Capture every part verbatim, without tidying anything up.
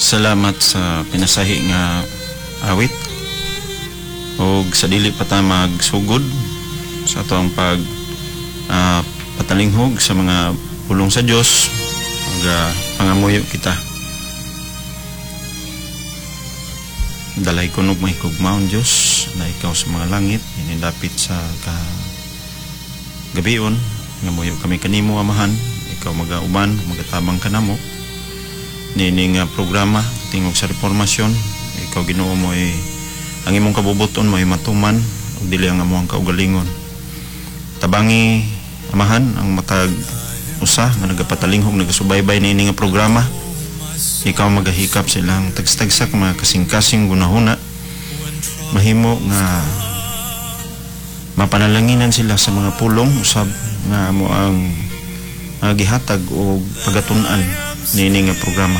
Salamat sa pinasahi nga awit og sa dili pa ta magsugod sa ato ang pag ah, patalinghog sa mga pulong sa Dios, mag ah, pangamuyo kita. Dalay kunog mahigugmaon Dios na ikaw sa mga langit, inidapit sa ka gabion ngamuyo kami kanimo, Amahan. Ikaw magauban, magatabang kanamo niini nga programa Tingog sa Reformasyon. Ikaw, Ginoo, mo ay ang imong kabubuton mo ay matuman ug dili ang among kaugalingon. Tabangi, Amahan, ang matag usa nga nagapatalinghog, nagasubaybay niini nga programa. Ikaw magahikap sa ilang tagstagsak mga kasing-kasing gunahuna, mahimo nga mapanalanginan sila sa mga pulong usab nga amo ang uh, gihatag og pagatun-an niini nga programa.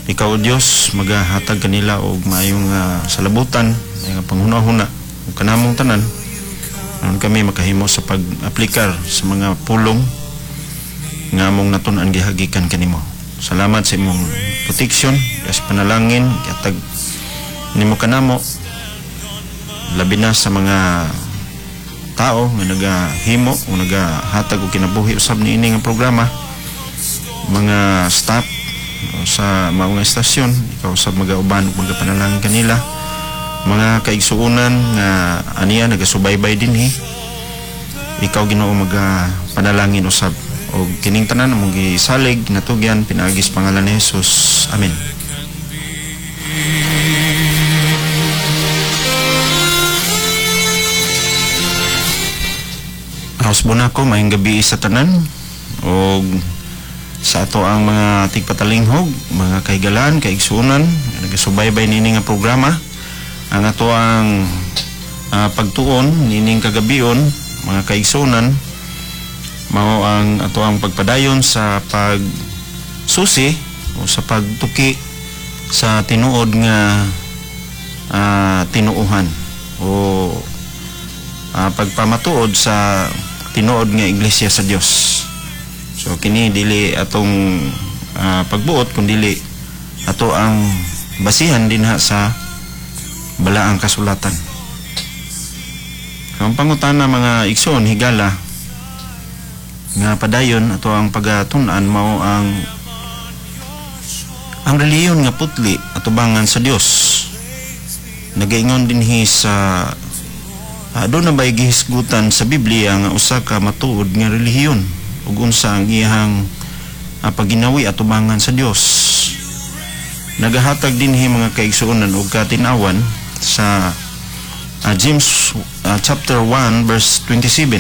Ikaw, O Dios, magahatag kanila og maayong uh, salabutan, nga panghuna-huna ug kanamong tanan aron kami makahimo sa pag-aplikar sa mga pulong nga among natun-an gihagikan kanimo. Salamat sa imong protection, sa panalangin gihatag nimo kanamo, labi na sa mga tao nga nagahimo o nagahatag og kinabuhi usab niini nga programa, mga staff sa mga estasyon. Ikaw usab magauban ug magapanalangin kanila, mga kaigsuonan nga aniya nagasubaybay dinhi. Ikaw, Ginoo, magapanalangin usab og kining tanan among gisalig, natugyan pinaagi sa pangalan ni Jesus. Amen. House Bonako, maayong gabi sa tanan og sa ato ang mga tigpatalinghog, mga kahigalaan, kaigsuonan nagasubaybay niini nga programa. Ang ato ang uh, pagtuon niining kagabion, mga kaigsuonan, mao ang ato ang pagpadayon sa pagsusi o sa pagtuki sa tinuod nga uh, tinuohan o uh, pagpamatuod sa tinuod nga iglesia sa Dios. So kini dili atong uh, pagbuot kun dili ato ang basihan dinha sa balaang kasulatan. Ang pangutana, mga igsoon higala, nga padayon ato ang pagatun-an mao ang ang relihiyon nga putli atubangan sa Dios. Nagaingon dinhi sa uh, doon na ba'y gihisgutan sa Biblia nga usa ka matuod nga relihiyon ug unsa ang iyang uh, pagginawi atubangan sa Dios? Nagahatag dinhi, mga kaigsuonan, og katinawan sa uh, James uh, chapter one verse twenty-seven.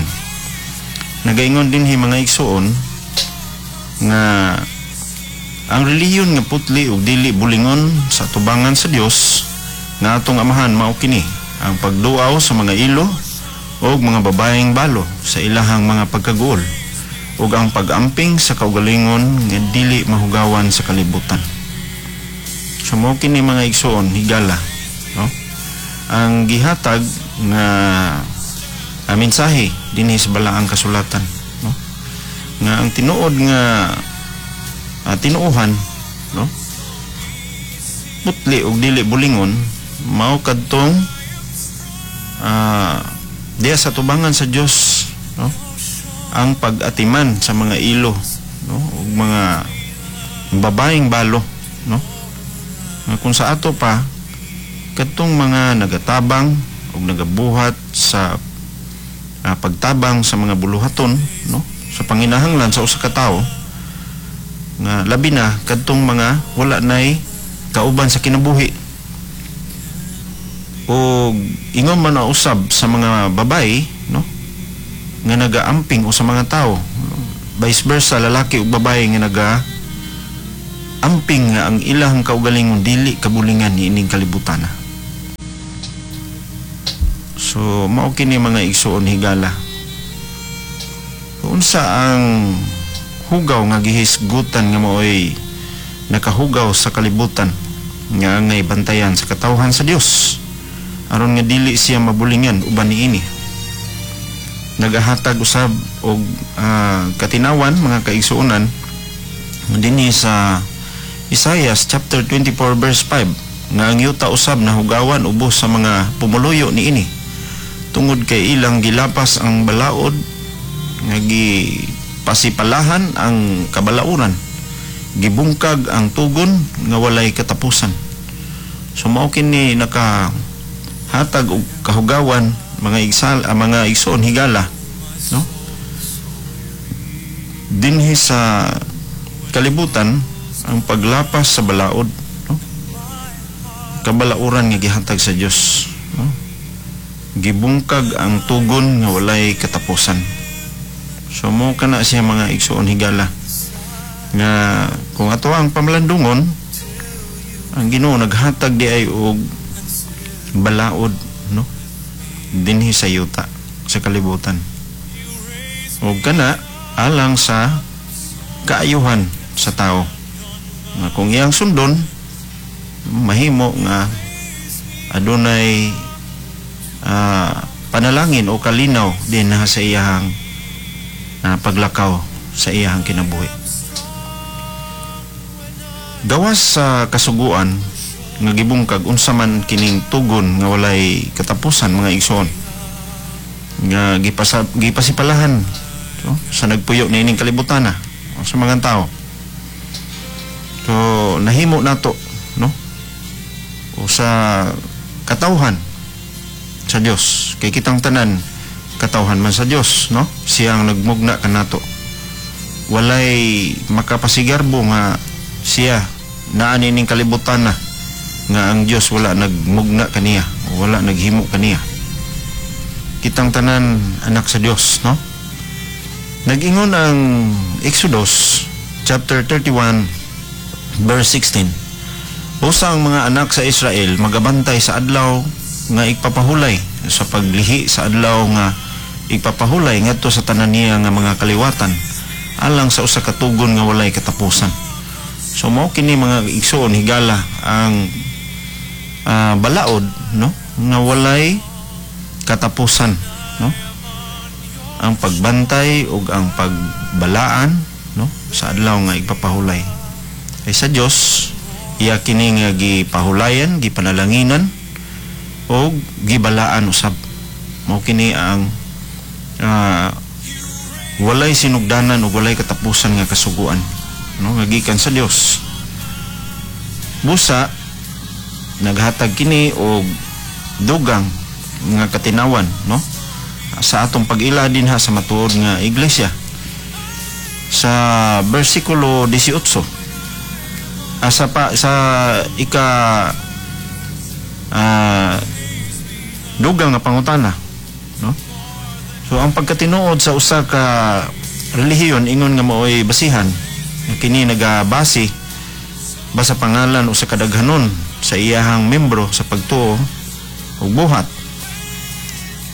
Nagaingon dinhi, mga igsuon, nga ang relihiyon nga putli ug dili bulingon sa atubangan sa Dios nga atong Amahan mao kini: ang pagduaw sa mga ilo ug mga babaeng balo sa ilahang mga pagkaguol ug ang pag-amping sa kaugalingon nga dili mahugawan sa kalibutan. So mao kini, mga igsuon higala, no? Ang gihatag nga uh, mensahe dinhi sa balaang kasulatan, no? Nga ang tinuod nga uh, tinuohan, no, putli ug dili bulingon mao kadtong uh, diya sa tubangan sa Dios, no, ang pag-atiman sa mga ilo, no, ug mga babaeng balo, no, nga kung sa ato pa kadtong mga nagatabang ug nagabuhat sa uh, pagtabang sa mga buluhaton, no, sa panginahanglan sa usa ka tawo, nga labi na kadtong mga wala nay kauban sa kinabuhi o ingon man na usab sa mga babae, no, nga nagaamping o sa mga tao, vice versa, lalaki ug babae nga naga amping nga ang ilang kaugalingon dili kabulingan niining kalibutan. So mao kini, mga igsuon higala. Unsa ang hugaw nga gihisgutan nga maoy nakahugaw sa kalibutan nga angay bantayan sa katawhan sa Dios aron nga dili siya mabulingan uban niini? Nagahatag usab og uh, katinawan, mga kaigsuonan, dinhi sa Isaiah chapter twenty-four verse five nga ang yuta usab nahugawan ubos sa mga pumuluyo niini tungod kay ilang gilapas ang balaod nga gipasipalahan ang kabalauran, gibungkag ang tugon nga walay katapusan. So mao kini naka hatag og kahugawan, mga igsal ah, mga igsoon higala, no, dinhi sa kalibutan, ang paglapas sa balaod, no, kabalauran nga gihatag sa Dios, no, gibungkag ang tugon nga walay katapusan. So mao kana siya, mga igsoon higala, nga kung ato ang pamalandungon, ang Ginoo naghatag di ay og balaod, no, dinhi sa yuta, sa kalibutan, ug kana alang sa kaayuhan sa tao nga kung iyang sundon, mahimo nga adunay ah, panalangin o kalinaw din sa iyahang ah, paglakaw sa iyahang kinabuhi. Gawas sa kasuguan nga gibungkag, unsa man kining tugon nga walay katapusan, mga igsoon, nga gipasa, gipasipalahan, so, sa nagpuyo niining kalibutan na o sa mga tao? So nahimo nato, no, o sa katawhan sa Dios, kay kitang tanan katawhan man sa Dios, no? Siya ang nagmugna kanato. Walay makapasigarbo nga siya naa niining kalibutan na nga ang Dios wala nagmugna kaniya, wala naghimo kaniya. Kitang tanan anak sa Dios, no? Nag-ingon ang Exodus chapter thirty-one verse sixteen: "Usa ang mga anak sa Israel magabantay sa adlaw nga igpapahulay sa paglihi sa adlaw nga igpapahulay ngadto sa tanan niya nga mga kaliwatan alang sa usa ka tugon nga walay katapusan." So mao kini, mga igsoon higala, ang ah, balaod, no, nga walay katapusan, no, ang pagbantay ug ang pagbalaan, no, sa adlaw nga igpapahulay. Kay sa Dios iya kini nga gipahulayan, gipanalanginan ug gibalaan usab. Mao kini ang ah, walay sinugdanan ug walay katapusan nga kasuguan, no, nga gikan sa Dios. Busa naghatag kini og dugang nga katinawan, no, sa atong pag-ila dinha sa matuod nga iglesia. Sa bersikulo eighteen, asa pa sa ika ah, dugang nga pangutana, no? So ang pagkatinuod sa usa ka relihiyon ingon nga maoy basihan nga kini nagabase ba sa pangalan o sa kadaghanon sa iyahang membro sa pagtuo ug buhat.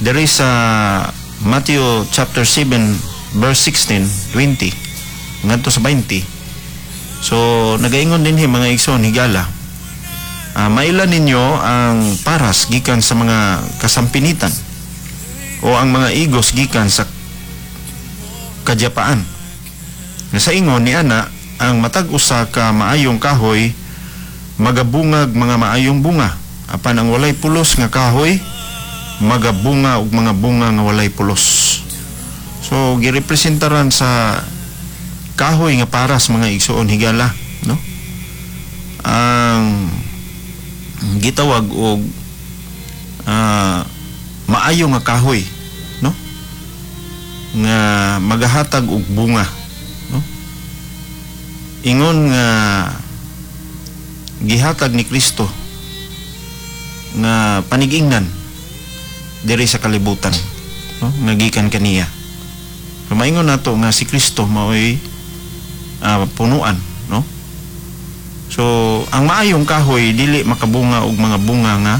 Diri sa Matthew chapter seven verse sixteen twenty ngadto sa twenty. So nagaingon dinhi, mga igsoon higala: uh, "Maila ninyo ang paras gikan sa mga kasampinitan o ang mga igos gikan sa kadyapaan. Nga sa ingon ni ana, ang matag usa ka maayong kahoy magabungag mga maayong bunga, apan ang walay pulos nga kahoy magabunga og mga bunga nga walay pulos." So girepresentaran sa kahoy nga paras, mga igsoon higala, no, ang gitawag og ah, maayo nga kahoy, no, nga magahatag og bunga, no, ingon nga gihatag ni Kristo nga panigingnan diri sa kalibutan, no, nga gikan kaniya. So maingon nato nga si Kristo maoy ah, punuan, no? So ang maayong kahoy dili makabunga og mga bunga nga